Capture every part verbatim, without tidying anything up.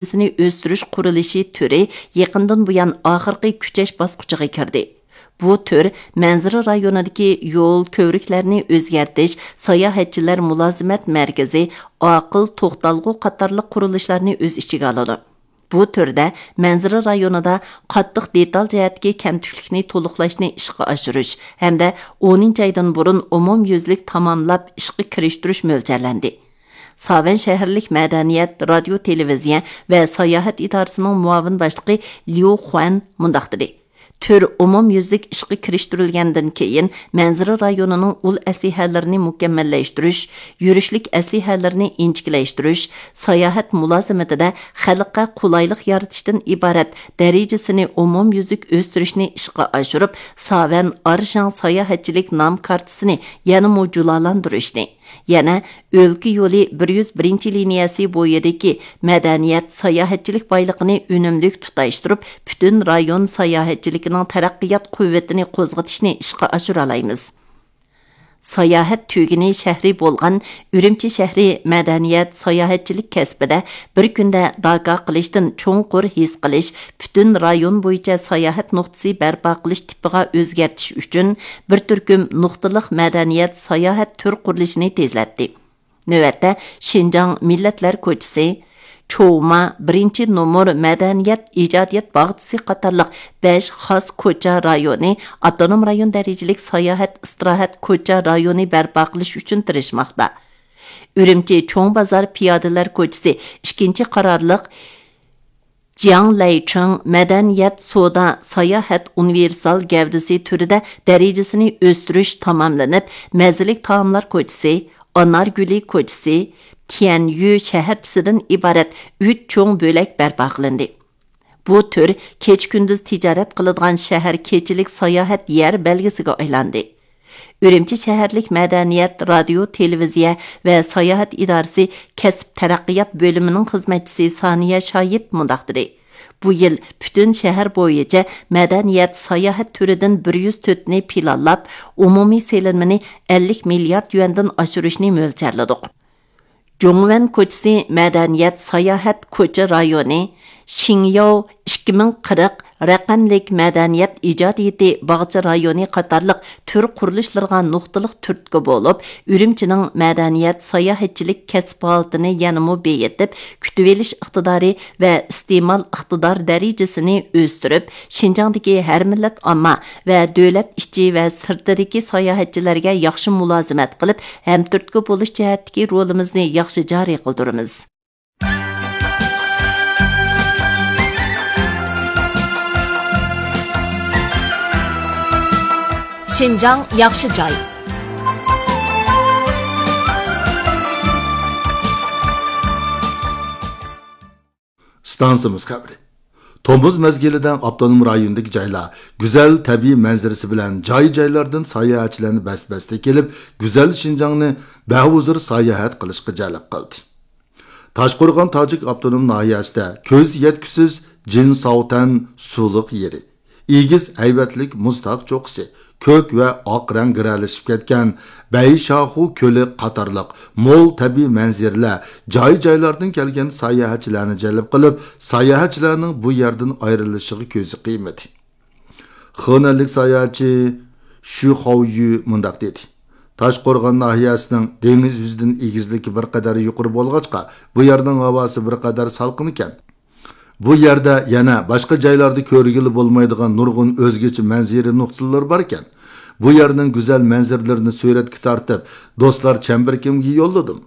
دەرىجىسىنى ئۆستۈرۈش قۇرۇلۇشى تۈرى يېقىندىن بۇيان ئاخىرقى كۈچەش باسقۇچىغا كىردى. بۇ تۈر مەنزىرە رايونىدىكى يول، كۆۋرۈكلەرنى ئۆزگەرتىش، ساياھەتچىلەر مۇلازىمەت مەركىزى، ئاقىل توختالغۇ قاتارلىق قۇرۇلۇشلارنى ئۆز ئىچىگە ئالىدۇ. بۇ تۈردە مەنزىرە رايونىدا قاتتىق دېتال جەھەتتىكى كەمتۈكلۈكنى تولۇقلاشنى ئىشقا ئاشۇرۇش ھەمدە ئونىنچى ئايدىن بۇرۇن ئومۇميۈزلۈك تاماملاپ ئىشقا كىرىشتۈرۈش مۆلچەرلەندى. ساۋەن شەھەرلىك مەدەنىيەت، رادىيو، تېلېۋىزىيە ۋە ساياھەت ئىدارىسىنىڭ مۇئاۋىن باشلىقى ليۇ خۇەن مۇنداق دېدى: تۈر ئومۇميۈزلۈك ئىشقا كىرىشتۈرۈلگەندىن كېيىن، مەنزىرە رايونىنىڭ ئۇل ئەسلىھەلىرىنى مۇكەممەللەشتۈرۈش، يۈرۈشلۈك ئەسلىھەلىرىنى ئىنچىكىلەشتۈرۈش، ساياھەت مۇلازىمىتىدە خەلققە قولايلىق يارىتىشتىن ئىبارەت دەرىجىسىنى ئومۇميۈزلۈك ئۆستۈرۈشنى ئىشقا ئاشۇرۇپ، ساۋەن ئارشاڭ ساياھەتچىلىك نام كارتىسىنى يەنىمۇ جۇلالاندۇرۇشنى، يەنە ئۆلكە يولى بىر يۈز بىرىنچى لىنىيەسى بويىدىكى مەدەنىيەت، ساياھەتچىلىك بايلىقىنى ئۈنۈملۈك تۇتاشتۇرۇپ، پۈتۈن رايون ساياھەتچىلىكىنىڭ تەرەققىيات قۇۋۋىتىنى قوزغىتىشنى ئىشقا ئاشۇرالايمىز. ساياھەت تۈگۈنى شەھىرى بولغان ئۈرۈمچى شەھىرى مەدەنىيەت، ساياھەتچىلىك كەسپىدە بىر كۈندە داكا قىلىشتىن چوڭقۇر ھېس قىلىش، پۈتۈن رايون بويىچە ساياھەت نۇقتىسى بەرپا قىلىش تىپىغا ئۆزگەرتىش ئۈچۈن بىر تۈركۈم نۇقتىلىق مەدەنىيەت، ساياھەت تۈر قۇرۇلۇشىنى تېزلەتتى. نۆۋەتتە، شىنجاڭ مىللەتلەر كوچىسى، چوۋما، بىرىنچى نومۇر مەدەنىيەت ئىجادىيەت باغچىسى قاتارلىق بەش خاس كوچا رايونى، ئاپتونوم رايون دەرىجىلىك ساياھەت ئىستىراھەت كوچا رايونى بەرپا قىلىش ئۈچۈن تىرىشماقتا. ئۈرۈمچى چوڭ بازار پىيادىلەر كوچىسى ئىككىنچى قارارلىق جياڭ لەيچىڭ مەدەنىيەت، سودا، ساياھەت ئۇنىۋېرسال گەۋدىسى تۈرىدە دەرىجىسىنى ئۆستۈرۈش تاماملىنىپ، مەززىلىك تائاملار كوچىسى، ئانارگۈلى كوچىسى، تيەنيۈ شەھەرچىسىدىن ئىبارەت ئۈچ چوڭ بۆلەك بەرپا قىلىندى. بۇ تۈر كېچە-كۈندۈز تىجارەت قىلىدىغان شەھەر كېچىلىك ساياھەت يەر بەلگىسىگە ئايلاندى. ئۈرۈمچى شەھەرلىك مەدەنىيەت، رادىيو، تېلېۋىزىيە ۋە ساياھەت ئىدارىسى كەسىپ تەرەققىيات بۆلۈمىنىڭ خىزمەتچىسى سانىيە شاھىت مۇنداق دېدى: بۇ يىل پۈتۈن شەھەر بويىچە مەدەنىيەت، ساياھەت تۈرىدىن بىر يۈز تۆتنى پىلانلاپ، ئومۇمىي سېلىنمىنى ئەللىك مىليارد يۈەندىن ئاشۇرۇشنى مۆلچەرلىدۇق. جۇڭۋەن كوچىسى مەدەنىيەت، ساياھەت كوچا رايونى، شىڭياۋ ئىككى مىڭ قىرىق رەقەملىك مەدەنىيەت ئىجادىيىتى باغچە رايونى قاتارلىق تۈر قۇرۇلۇشلىرىغا نۇقتىلىق تۈرتكە بولۇپ، ئۈرۈمچىنىڭ مەدەنىيەت، ساياھەتچىلىك كەسىپ ھالىتىنى يەنىمۇ بېيىتىپ، كۈتۈۋېلىش ئىقتىدارى ۋە ئىستېمال ئىقتىدار دەرىجىسىنى ئۆستۈرۈپ، شىنجاڭدىكى ھەر مىللەت ئامما ۋە دۆلەت ئىچى ۋە سىرتىدىكى ساياھەتچىلەرگە ياخشى مۇلازىمەت قىلىپ، ھەمتۈرتكە بولۇش جەھەتتىكى رولىمىزنى ياخشى جارى قىلدۇرىمىز. شىنجاڭ ياخشى جاي. ئىستانسىمىز خەۋىرى. تومۇز مەزگىلىدە ئاپتونوم رايوندىكى جايلار گۈزەل تەبىئىي مەنزىرىسى بىلەن جاي-جايلاردىن ساياھەتچىلەرنى بەس-بەستە كېلىپ، گۈزەل شىنجاڭنى بەھۇزۇر ساياھەت قىلىشقا جەلپ قىلدى. تاشقورغان تاجىك ئاپتونوم ناھىيەسىدە كۆز يەتكۈسىز جىنساۋتەن سۇلۇق يېرى، ئېگىز ھەيۋەتلىك مۇز تاغ چوققىسى، كۆك ۋە ئاق رەڭ گىرەلىشىپ كەتكەن بەيشاخۇ كۆلى قاتارلىق مول تەبىئىي مەنزىرىلەر جاي-جايلاردىن كەلگەن ساياھەتچىلەرنى جەلپ قىلىپ، ساياھەتچىلەرنىڭ بۇ يەردىن ئايرىلىشىغا كۆزى قىيمىدى. خېنەنلىك ساياھەتچى شۈ خاۋيۈ مۇنداق دېدى: تاشقورغان ناھىيەسىنىڭ دېڭىز يۈزىدىن ئېگىزلىكى بىر قەدەر يۇقىرى بولغاچقا، بۇ يەرنىڭ ھاۋاسى بىر قەدەر سالقىن ئىكەن. بۇ يەردە يەنە باشقا جايلاردا كۆرگىلى بولمايدىغان نۇرغۇن ئۆزگىچە مەنزىرە نۇقتىلىرى باركەن. بۇ يەرنىڭ گۈزەل مەنزىرىلىرىنى سۈرەتكە تارتىپ، دوستلار چەمبىرىكىمگە يوللىدىم.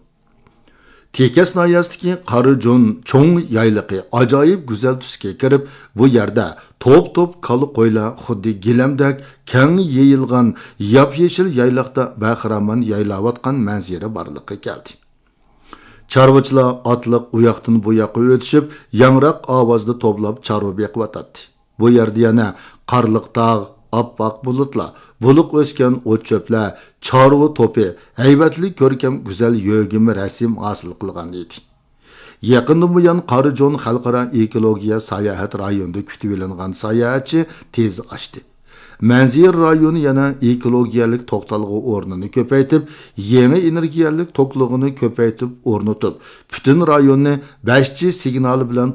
تېكەس ناھىيەسىدىكى قارىجون چوڭ يايلىقى ئاجايىپ گۈزەل تۈسكە كىرىپ، بۇ يەردە توپ-توپ كالا-قويلار خۇددى گىلەمدەك كەڭ يېيىلغان ياپيېشىل يايلاقتا بەخىرامان يايلاۋاتقان مەنزىرە بارلىققا كەلدى. چارۋىچىلار ئاتلىق ئۇياقتىن بۇ ياققا ئۆتۈشۈپ، ياڭراق ئاۋازدا توۋلاپ چارۋا بېقىۋاتاتتى. بۇ يەردە يەنە قارلىق تاغ، ئاپئاق بۇلۇتلار، بۇلۇق ئۆسكەن ئوت-چۆپلەر، چارۋا توپى، ھەيۋەتلىك كۆركەم گۈزەل يۆگىمە رەسىم ھاسىل قىلغان ئىدى. يېقىندىن بۇيان قارىجون خەلقئارا ئېكولوگىيە ساياھەت رايونىدا كۈتۈۋېلىنغان ساياھەتچى تېز ئاشتى. مەنزىرە رايونى يەنە ئېكولوگىيەلىك توختالغۇ ئورنىنى كۆپەيتىپ، يېڭى ئېنېرگىيەلىك توكلىغۇنى كۆپەيتىپ ئورنىتىپ، پۈتۈن رايوننى بەش جى سىگنالى بىلەن